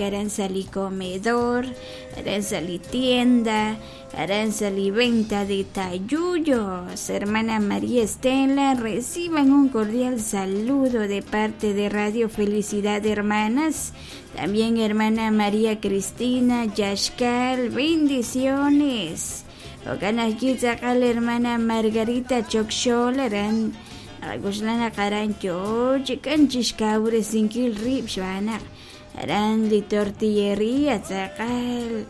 Aran sa' li comedor, aran sa' li tienda, aran sa' li venta de tayuyos. Hermana María Estela, reciban un cordial saludo de parte de Radio Felicidad, hermanas. También hermana María Cristina Yashkal, bendiciones. Jo'kan ajwi' tz'aqal hermana Margarita Chokxol aran naqak'oxla naq aran yoo chi k'an chixkawresinkil rib' xb'aan naq aran li tortilleria tz'aqal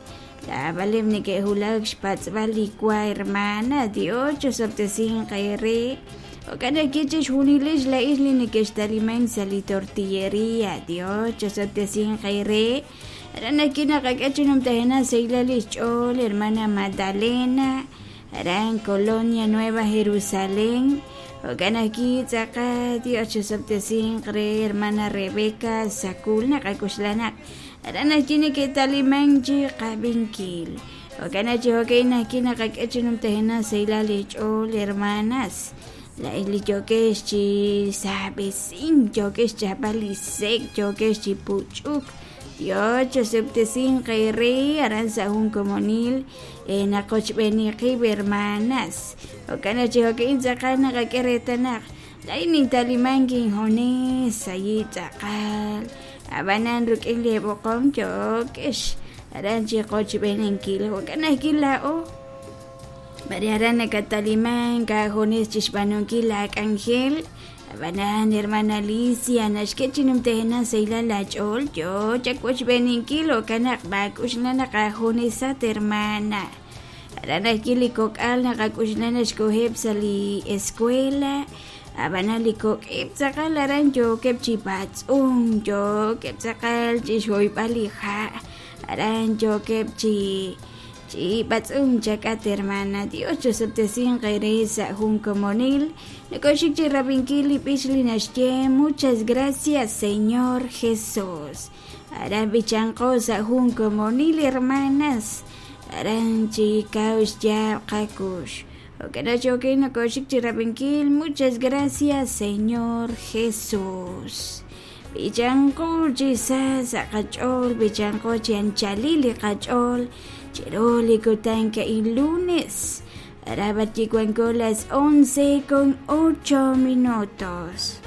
laabaleb' neke'wulak xpatz'b'al li wa hermana. Dios chosob'tesinq eere. Jo'kan ajwi' chixjunilex laa'ex li neke'xtalimank sa' li tortilleria. Dios chosob'tesinq eere. Aran ajwi' naqak'e chi numtajenaq sahilal li xch'ool hermana Magdalena aran Colonia Nueva Jerusalén. Jo'kan ajwi' tz'aqal Dios chosob'tesinq re hermana Rebeca Sakul naqak'oxla naq aran ajwi' neke'talimank chi qab'inkil. Jo'kan chi jo'ka'in ajwi' naqak'e chi numtajenaq sahilal li xch'ool hermanas. Laa'ex li yookex chi saab'esink, yookex xchapb'al li sek', yookex chi puch'uk. Dios chosob'tesinq eere aran sa' jun komonil naqochb'eeni qib' hermanas. Jo'kan chi jo'ka'in tz'aqal naqak'e reetal naq laa'in nintalimank injunes sayi tz'aqal. Ab'anan rik'in li b'oqom yookex aran chi qochb'eeninkil. Jo'kan ajwi' laa'o b'ari aran nakatalimank aajunes chi xb'aanunkil laak'anjel. Ab'anan hermana Alicia naxk'e chi numtajenaq sahilal laach'ool yoo chawochb'eeninkil jo'kan naq maak'uxla naq aajunesat hermana. Aran ajwi' li kok'al naqak'uxla naxkoheb' sa' li escuela. Ab'anan li kok'eb' tz'aqal aran yookeb' chi b'atz'unk, yookeb' tz'aqal chi xhoyb'al li ha', aran yookeb' chi chi b'atz'unk chak'at hermana. Dios chosob'tesinq eere sa' jun komonil. Nakoxik chi rab'inkil li b'ich li naxye muchas gracias Señor Jesús. Aran b'ichanqo sa' jun komonil hermanas. Aran chi kaw xyaab' qakux. Jo'kan chi nakoxik chi rab'inkil muchas gracias Señor Jesús. B'ichanqo chi sa sa' qach'ool, b'ichanqo chi anchalil li qach'ool, chiru li kutan ka'in lunes. Arabat wanko las 11:08.